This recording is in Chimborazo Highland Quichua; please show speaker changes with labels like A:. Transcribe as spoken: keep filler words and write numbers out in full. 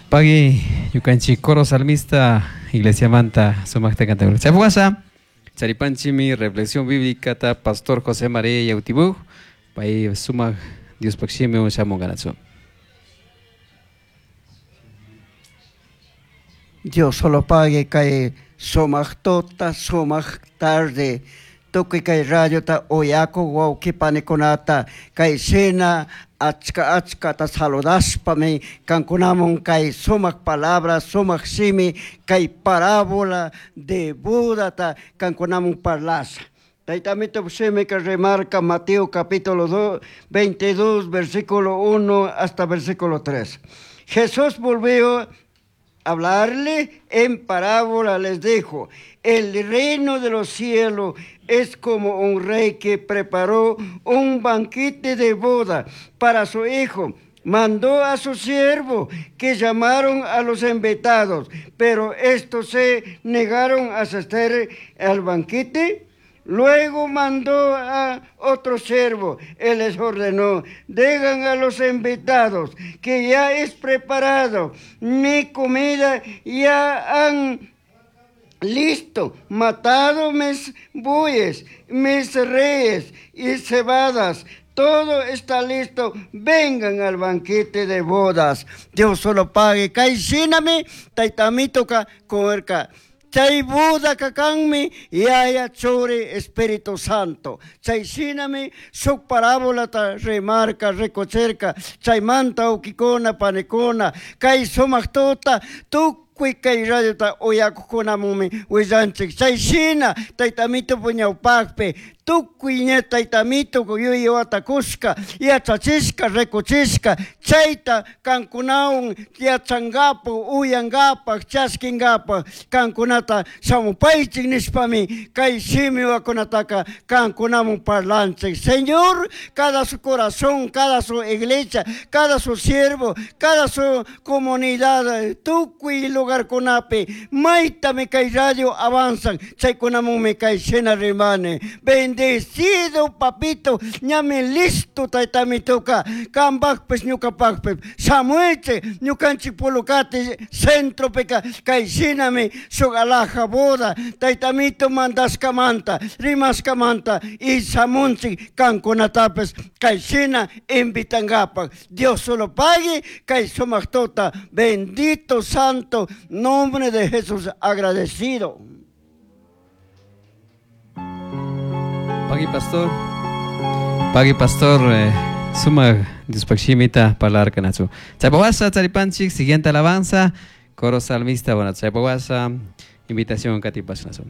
A: Pagui ñukanchik coro salmista iglesia manta sumaqta cantakun. Chaypaq charipanchimi reflexión bíblica ta pastor José María Yautibuj pay sumaq Diospaq shimi shamunqanatsu.
B: Dios solo pague kay sumaq tuta sumaq tarde tukuy kay radiota uyakuq wawqi panikunata kay shina achka achkata saludaspami kankunamun kay sumaq palabra sumaq shimi kay parábola de Budata kankunamun parlasha. Taytamito shimika remarca Mateo capítulo veintidós versículo uno hasta versículo tres. Jesús volvió a hablarle en parábola, les dijo: el reino de los cielos es como un rey que preparó un banquete de boda para su hijo. Mandó a su siervo que llamaron a los invitados, pero estos se negaron a asistir al banquete. Luego mandó a otro siervo. Él les ordenó: digan a los invitados que ya es preparado mi comida, ya han listo, matado mis bueyes, mis reyes y cebadas. Todo está listo, vengan al banquete de bodas. Dios solo pague. Kay shinami taytamitoka comerka. Chay Buda kakanmi Yaya Churi Espíritu Santo. Chay shinami shuk parábola ta remarca, recocherca. Chay manta ukikuna, panikuna. Kay sumaq tuta tukuy kay radiota uyakuqkunamumi willanchik. Chay shina taytamito puñawpaqpi tukuy ña taytamito yuyawatakushka yachachishka rikuchishka chayta kankunawan yachankapak uyankapaq chaskinkapak kankunata shamupaychik nishpami kay shimiwakunataka kankunamun parlanchik. Señor, cada su corazón, cada su iglesia, cada su siervo, cada su comunidad, tukuy lugarkunapi maytami kay radio avanzan chaykunamunmi kay shina rimani. Bendecido papito, ñami listo taytamituka, kambaqpis ñuqapaqpis shamuichik ñuqanchik Pulukati centropika kay shinami shuk alhaja boda taytamito mandashkamanta rimashkamanta y shamunchik kankunatapis kay shina invitankapaq. Dios solo pague kay sumaq tuta, bendito santo nombre de Jesús agradecido.
A: Pagui pastor, pagui pastor, eh, sumaq Diospaq shimita parlarkanatsu. Chaypawasa charipanchik, siguiente alabanza, coro salmista, bueno, chaypawasa, invitación katipasnasu.